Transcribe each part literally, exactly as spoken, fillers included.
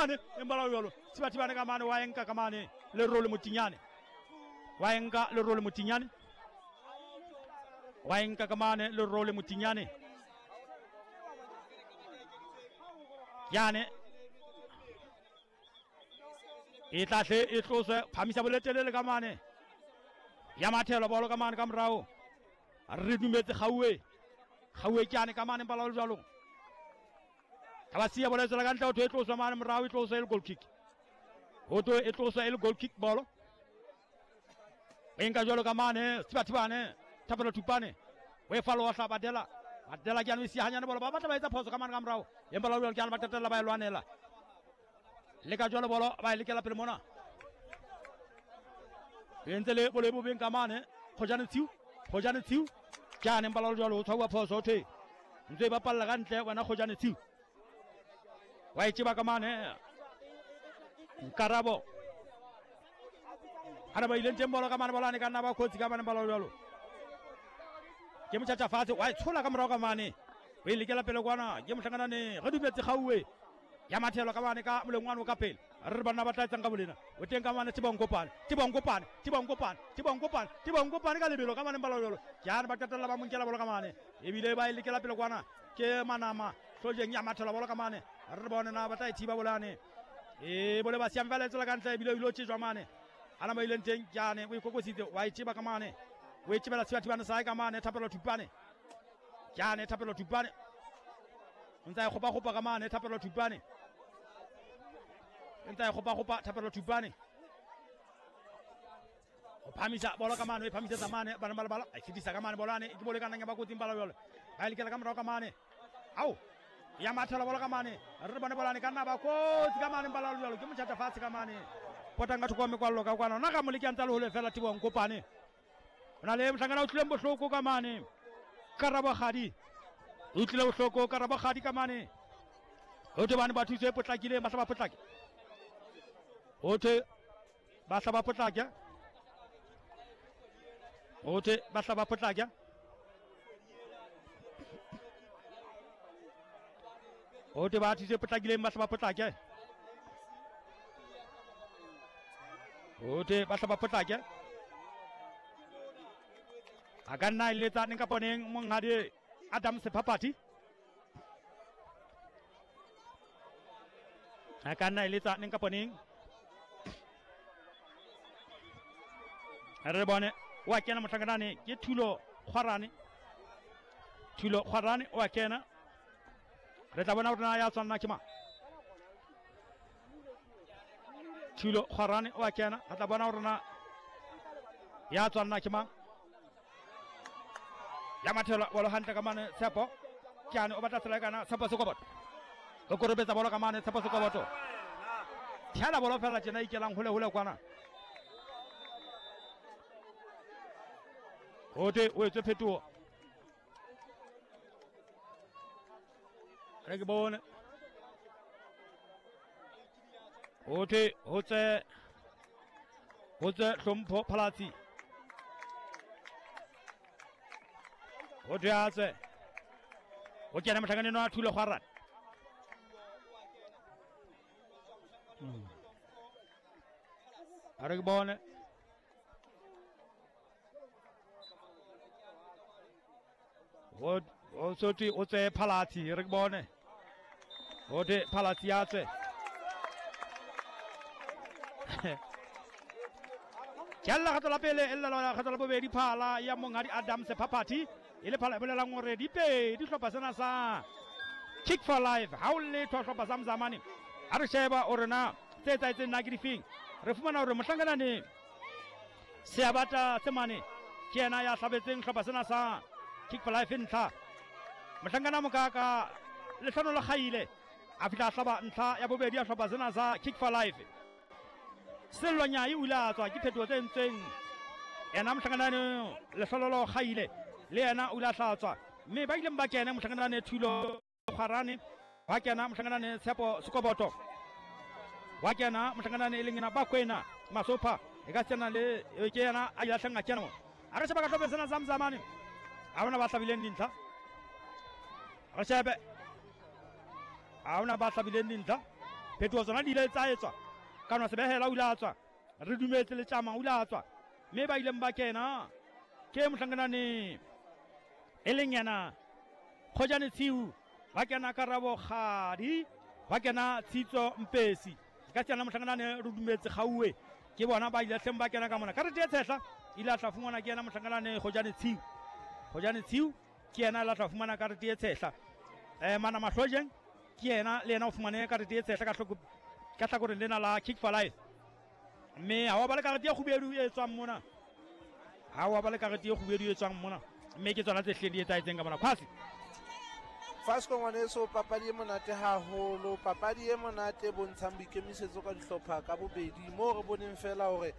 mane empa jalo Thibathibane ka mane wa enka ka mane Lerole Motinyane wa enka Lerole Motinyane wa enka ka mane Lerole Motinyane yane e tla hle e tloswe phamisa boletelele ka mane ya mathelo bolo ka mane ka morao re dumetse Gauwe Gauwe ke ane ka mane mpala jalo ka ba sia bolo e tswela ka ntle ho thwe e tloswe mane morao e tloswe e le goal kick ho thwe e tloswe e le goal kick bolo e nka jalo ka mane Thibathibane Thapelo Thupane o e falo wa hlabadela Badela ke ane sia hanyane bolo ba batla ba etsa phoso ka mane ka morao empa la jalo ke ane ba qetella ba e lwanela le ka jalo bolo ba e lekela pele mona e ntse le bolo e bobeng ka mane Kgojane Tshiu Kgojane Tshiu ke ane empa la jalo o tshwauwa phoso thwe ntse e bapalla ka ntle wena Kgojane Tshiu wa e tseba ka mane Nkarabo ana ba ileng teng bolo ka mane bolo ane ka nna ba kotsi ka mane bolo jalo ke motjhatja fatshe wa e tshola ka morao ka mane o e lekela pele kwana ke mohlanganane re dumetse Gauwe ya mathelo ka mane ka molengwane o ka pele re re banna ba tla etsang ka bolena o teng ka mane Thibankopane Thibankopane Thibankopane Thibankopane Thibankopane ka lebelo ka mane bolo jalo ke ane ba qetella ba mo nkela bolo ka mane ebile ba e lekela pele kwana ke Manama Hlojeng ya mathelo bolo ka mane re bone na ba tla e thiba bolane e bole ba siang fela e tswela ka ntle ebile o ile o tjejwa mane ana ba ileng teng ke ane o ikokositse wa e tseba ka mane o e tsebela Thibathibane sa ka mane Thapelo Thupane ke ane Thapelo Thupane o ntse a e kgopa-kgopa ka mane Thapelo Thupane o ntse a e kgopa-kgopa Thapelo Thupane o phamisa bolo ka mane o e phamisetsa mane bana ba lebala a e fetisa ka mane bolo ane ke bolo e ka nnang ya ba kotsing bala jalo ba e lekela ka morao ka mane ao ya mathela bolo ka mane re bone bolo ane ka nna ba kotsi ka mane bala jalo ke motjhatja fatshe ka mane potang ka thoko mekwallo ka kwana nna ka moleki a ntse a le hole fela Thibankopane o na le mohlankana o tlileng bohloko ka mane Karabo Kgadi o tlile bohloko Karabo Kgadi ka mane ho thwe bane ba thuso e potlakileng ba hla ba potlake ho thwe ba hla ba potlake ho thwe ba hla ba potlake ho thwe ba thuso e potlakileng ba hla ba potlake ho thwe ba hla ba potlake a ka nna e letsa neng kapa neng monghadi Adam Sephapati a ka nna e letsa neng kapa neng re bone wa kena mohlankanane ke Thulo Kgwarane Thulo Kgwarane wa kena re tla bona hore na ya tshwanna ke mang Thulo Kgwarane wa kena re tla bona hore na ya tshwanna ke mang ya mathelo bolo hantle ka mane Tshepo ke ane o batla tsela kana Tshepo Sekoboto o korobetsa bolo ka mane Tshepo Sekoboto tshela bolo fela tjena ikelang hole hole kwana ho thwe o etswe phetoho re ke bone ho thwe ho tse ho tse Hlompho Phalatsi ho thwe a tswe ho kena mohlakaneng wa Thulo Kgwarane a re ke bone ho so thwe o tswe Phalatsi re ke bone ho thwe Phalatsi a tswe ke lla kgato la pele e lla kgato la bobedi phala ya monghadi Adam Sephapati e le phala e bolelang hore dipedi hlopha sena sa Kick for Life ha o letho hlopha sa Mzamane ha re sheba hore na tse etsahetseng na ke difeng re fumana hore mohlankanane Seabata Tsemane ke yena ya hlabetseng hlopha sena sa Kick for Life ntlha mohlankana Mokaka Lehlono le Kgaile a fihla a hlaba ntlha ya bobedi ya hlopha sena sa Kick for Life Sello Nyai o ile a tswa ke phetoho tse entsweng yena mohlankanane Lehlololo Kgaile le yena o ile a hlatswa mme ba ileng ba kena mohlankanane Thulo Kgwarane wa kena mohlankanane Tshepo Sekoboto wa kena mohlankanane e leng yena Bakwena Masopha e ka tsena le ke yena a ile a hleng a kena a re sheba ka hlophe sena sa Mzamane a hona ba hlabileng dintlha re shebe a hona ba hlabileng dintlha Phetoho tsona di ile tsa etswa. Ka sebehela o ile a tswa. Re dumetse le tjama o ile a tswa. Mme ba ileng ba kena ke mohlankanane e leng yena Kgojane Tshiu, ba kena Karabo Kgadi, ba kena Tshitso Mpesi. Ka tsena mohlankanane re dumetse Gauwe ke bona ba ile hleng ba kena ka mona. Karete e tshehla ile a tla fumana ke yena mohlankanane Kgojane Tshiu. Kgojane Tshiu ke yena la tla fumana karete e tshehla. Eh mana Mahlojeng ke yena le yena o fumane karete e tshehla ka hloko ka hlakoreng lena la Kick for Life. Mme ha wa ba le karete e kgubedu e tswang mona. Ha wa ba le karete e kgubedu e tswang mona. Mme ke tsona tse hleng di etsahetseng ka mona. Kwasi Fasco ngwaneso, papadi e monate haholo, papadi e monate e bontshang boikemisetso ka dihlopha ka bobedi. Moo re boneng fela hore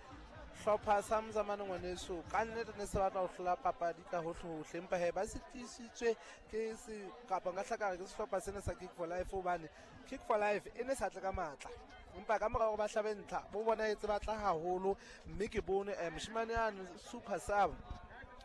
hlopha sa Mzamane ngwaneso ka nnete ne se batla ho hlola papadi ka hohle hohle, empa he ba sitisitswe ke se kapa nka hlaka re ke sehlopha sena sa Kick for Life, hobane Kick for Life e ne sa tle ka matla, empa ka mora hore ba hlabe ntlha bo bonahetse ba tla haholo. Mme ke bone eh, moshemane yane super sub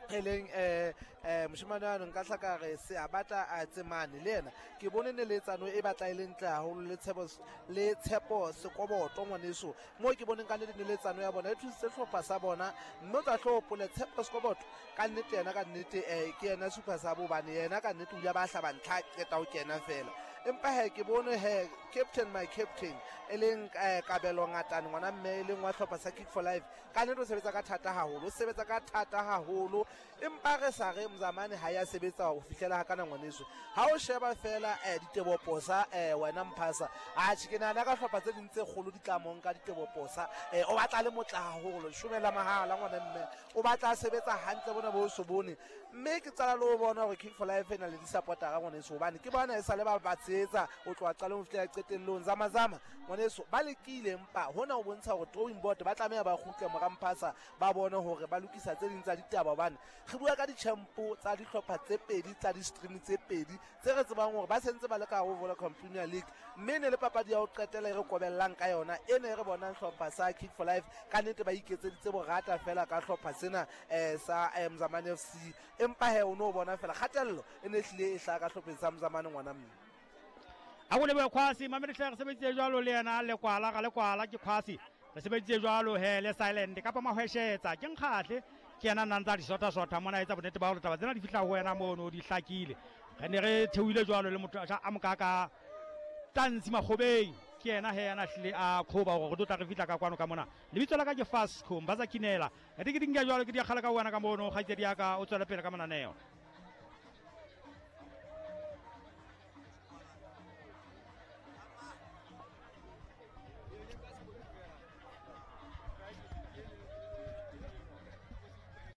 e leng eh eh moshemane yane nka hlaka re se a batla a tsemane le yena, ke bone neletsano e batla e le ntle haholo le tshepo le tshepo Sekoboto ngwaneso. Moo ke boneng ka nnete neletsano ya bona e thusitse hlopha sa bona, mme o tla tlo hopole Tshepo Sekoboto ka nnete yena ka nnete eh ke yena super sub, hobane yena ka nnete o ile ba hlaba ntlha qeta ho kena fela. Empa he ke bone he captain my captain e leng eh, Kabelo Ngatane ngwana mme e leng wa hlopha sa Kick for Life, ka nnete o sebetsa ka thata haholo, o sebetsa ka thata haholo, empa re sa re Mzamane ha ya sebetsa ho fihlela ha kana ngwaneso. Ha o sheba fela eh, diteboposa eh, wena Mphasa, atjhe ke nahana ka hlopha tse ding tse kgolo di tla monka diteboposa, eh, o batla le motla haholo shomela mahala ngwana mme o batla a sebetsa hantle bona bo so bone. Mme ke tsala le ho bona hore Kick for Life e na le di-supportera ngwaneso, hobane ke bona e sa le ba ba tshehetsa ho tloha qalong ho fihlela qetellong. Zama-zama ngwaneso ba lekile, empa hona ho bontsha hore drawing board ba tlameha ba kgutle mora Mphasa, ba bone hore ba lokisa tse ding tsa ditaba, hobane re bua ka di-champo tsa dihlopha tse pedi tsa di-stream tse pedi tse re tsebang hore ba sentse ba le ka ho Vodacom Premier League. Mme ne le papadi ya ho qetela e re kobellang ka yona e ne re bonang hlopha sa Kick for Life ka nnete ba iketseditse borata fela ka hlopha sena eh, sa eh, Mzamane F C, empa he o no bona fela kgatello e ne hlile e hlaha ka hlopheng sa Mzamane ngwana mme. A go lebohe Kwasi, mamedi hle re sebeditse jwalo le yena Lekwala, ga Lekwala ke Kwasi. Re sebeditse jwalo he le Silent kapa Mahweshetsa ke Nkgatle ke yena nna ntsa di sota sota mona etsa bonnete ba hore taba tsena di fihla ho wena mono di hlakile. Re ne re theohile jwalo le motho a mokaka Tansi Makgobeng ke yena he yana hlile a qhoba hore re tlo tla re fihla ka kwano ka mona. Lebitso la ka ke Fasco Mbaza Kinela. Re ke dinka jwalo ke di kgala ka wena ka mono kgaitsedi ya ka o tswele pele ka mananeo.